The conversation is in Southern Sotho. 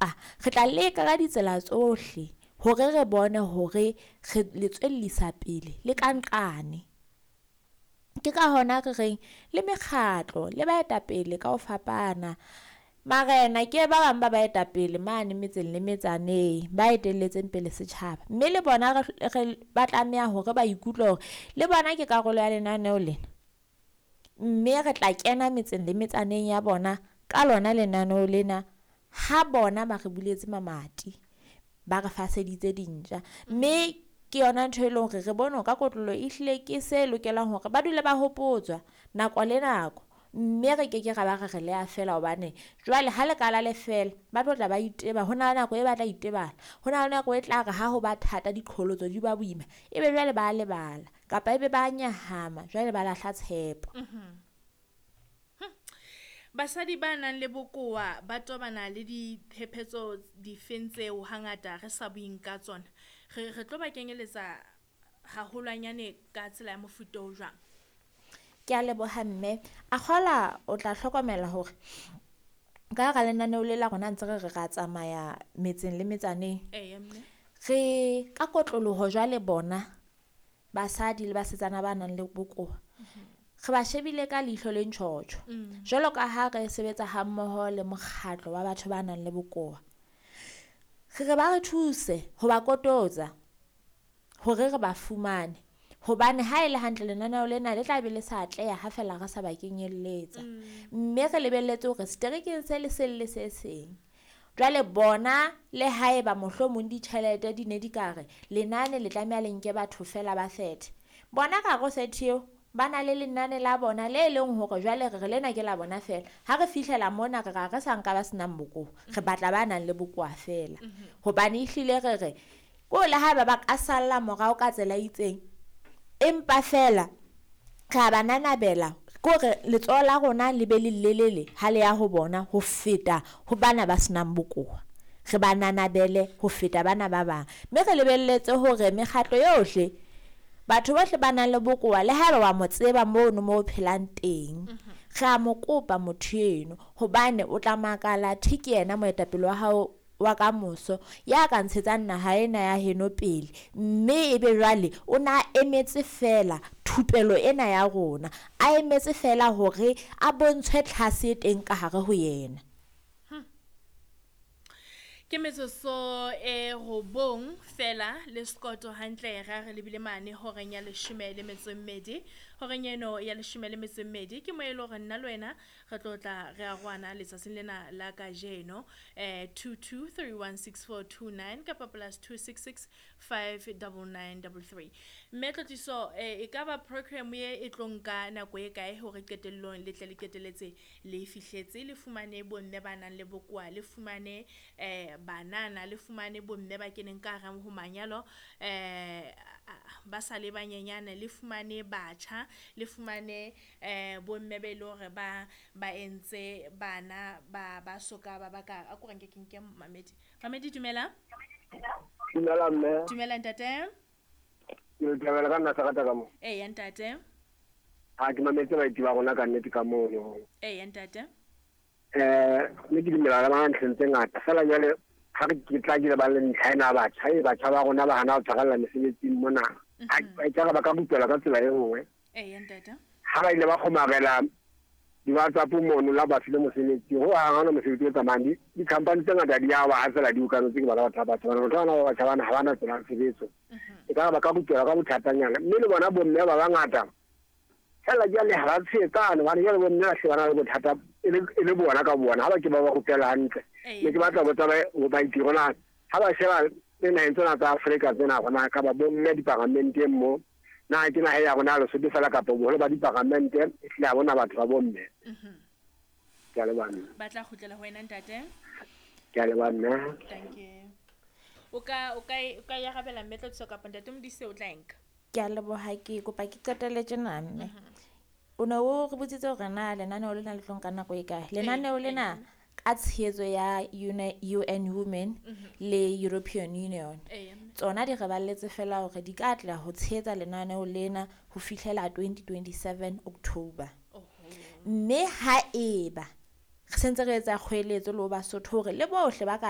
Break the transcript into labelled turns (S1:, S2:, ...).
S1: Empa re tla leka ka ditsela tsohle hore re bone hore re le tswellisa pele le ka nqane. Ke ka hona re reng le mekgatlo le baetapele ka ho fapana. Marena ke ba bang ba baetapele mane metseng le metsaneng ba etelletseng pele setjhaba. Mme le bona re ba tlameha hore ba ikutlwe hore le bona ke karolo ya lenaneo lena. Mme re tla kena metseng le metsaneng ya bona ka lona lenaneo lena ha bona ba re buletse mamati, ba re faseditse dintja. Mme ke yona ntho e leng hore re bone ka kotloloho ehlile ke se lokelang hore ba dule ba hopotswa nako le nako. Mme re ke ke ra ba re re le a fela hobane jwale ha le ka la lefela ba tlo tla ba iteba. Ho na le nako e batla itebala, ho na le nako e tla re ha ho ba thata diqholotso di ba boima, ebe jwale ba lebala kapa ebe ba nyahama jwale ba lahla tshepo.
S2: Basadi ba nang le bokowa ba tobana le diphephetso difeng tseo hangata re sa bueng ka tsona? Re tlo ba kenyeletsa haholwanyane ka tsela ya mofuta o jwang?
S1: Ke a leboha mme. A kgola o tla hlokomela hore ka hara lenaneo le la rona ntse re re ra tsamaya metseng le metsaneng.
S2: Eya mme.
S1: Re ka kotloloho jwale bona basadi le basetsana ba nang le bokowa. Re ba shebile ka leihlo le ntjhotjho. Jwalo ka ha re sebetsa ha mmoho le mokgatlo wa batho ba nang le bokowa. Re re ba re thuse ho ba kototsa hore re ba fumane. Hobane ha e le hantle lenaneo lena le tla be le sa atleha ha fela re sa ba kenyelletsa. Mme re lebelletse hore seterekeng se le seng le se seng. Jwale bona le haeba mohlomong ditjhelete di ne di ka re lenane le tlameha le nke batho fela ba 30. Bona ka hare ho 30 eo ba na le lenane la bona le leng hore jwale re re lena ke la bona fela. Ha re fihlela mona re ra re sa nka ba senang bokowa, re batla ba nang le bokowa fela. Hobane ehlile re re ko le haeba ba ka salla morao ka tsela e itseng, empa fela re a ba nanabela kore letsoho la rona le be le lelele ha le ya ho bona ho feta ho bana ba senang bokowa. Re ba nanabele ho feta bana ba bang. Mme re lebelletse hore mekgatlo yohle, batho bohle ba nang le bokowa le haeba wa mo tseba mono mo o phelang teng, re a mo kopa motho eno hobane o tla makala thi ke yena moetapele wa hao wa ka moso ya ka ntshetsang naha ena ya heno pele. Mme ebe jwale o na emetse fela thupelo ena ya rona, a emetse fela hore a bontshwe tlhase e teng ka hare ho yena.
S2: Ke metsotso e 9 fela le sekoto hantle ra re lebile mane horeng ya 12. Horeng eno ya 12 ke mo e le hore nna le wena re tlo tla re arohana letsatsing lena la kajeno. 22316429 kapa +266 59933. Mme Tlotliso, e ka ba program ye e tlo nka nako e kae hore qetellong le tle le qetelletse le fihletse le fumane bomme ba nang le bokowa, le fumane banana, le fumane bomme ba keneng ka hare ho manyalo ba sa le banyenyane, le fumane batjha, le fumane bomme be le hore ba entse bana ba soka ba baka. A ko re nke ke nke Mamedi. Mamedi, dumela.
S3: Dumela mme.
S2: Dumela ntate.
S3: Ke le thabela ka nna sakata ka mo.
S2: Eya ntate.
S3: Ha ke mametse baeti ba rona ka nnete ka mono.
S2: Eya ntate.
S3: Mme ke dumela ka ntlheng tse ngata. Feela jwale ha re ke tla ke ba le ntlha ena batjha, e batjha ba rona ba hana ho tshwarella mesebetsing mona. Ha e ka ba ka rupelwa ka tsela e nngwe.
S2: Eya ntate.
S3: Ha ba ile ba kgomarela di-WhatsApp mono la ba file mosebetsi, ho hang ha hona mosebetsi o tsamayang. Di-company tse ngata di a wa ha feela di okametse ke bana batho ba batjha bana. Batho bana ba batjha bana ha ba na tsela ya tshebetso. E ka ba ka rupelwa ka bothatanyana. Mme le bona bomme ba bangata feela jwale ha ba tshehetsane, hobane jwale bomme ba hle ba na le bothata e le bona ka bona, ha ba ke ba ba rupela hantle. Ne ke batla ho botsa baeti hore na ha ba sheba le naheng tsena tsa Afrika tsena hore na ka ba bomme diparamenteng mo, na ke naha ya rona ya Lesotho fela kapa boholo ba diparamente ehlile ha bona batho ba bomme. Ke a leboha mme.
S2: Ba tla kgutlela ho wena ntate.
S3: Ke a leboha mme.
S2: Thank you. O ka e arabela mme Tlotliso kapa ntate Modise o tla e nka?
S1: Ke a leboha, ke kopa ke qetelle tjena mme. O ne o re botsitse hore na lenaneo lena le tlo nka nako e kae? Lenaneo lena ka tshehetso ya UN Women le European Union. Tsona di re balletse fela hore di ka atleha ho tshehetsa lenaneo lena ho fihlela 2027 October. Mme haeba re sentse re etsa kgoeletso le ho Basotho hore le bohle ba ka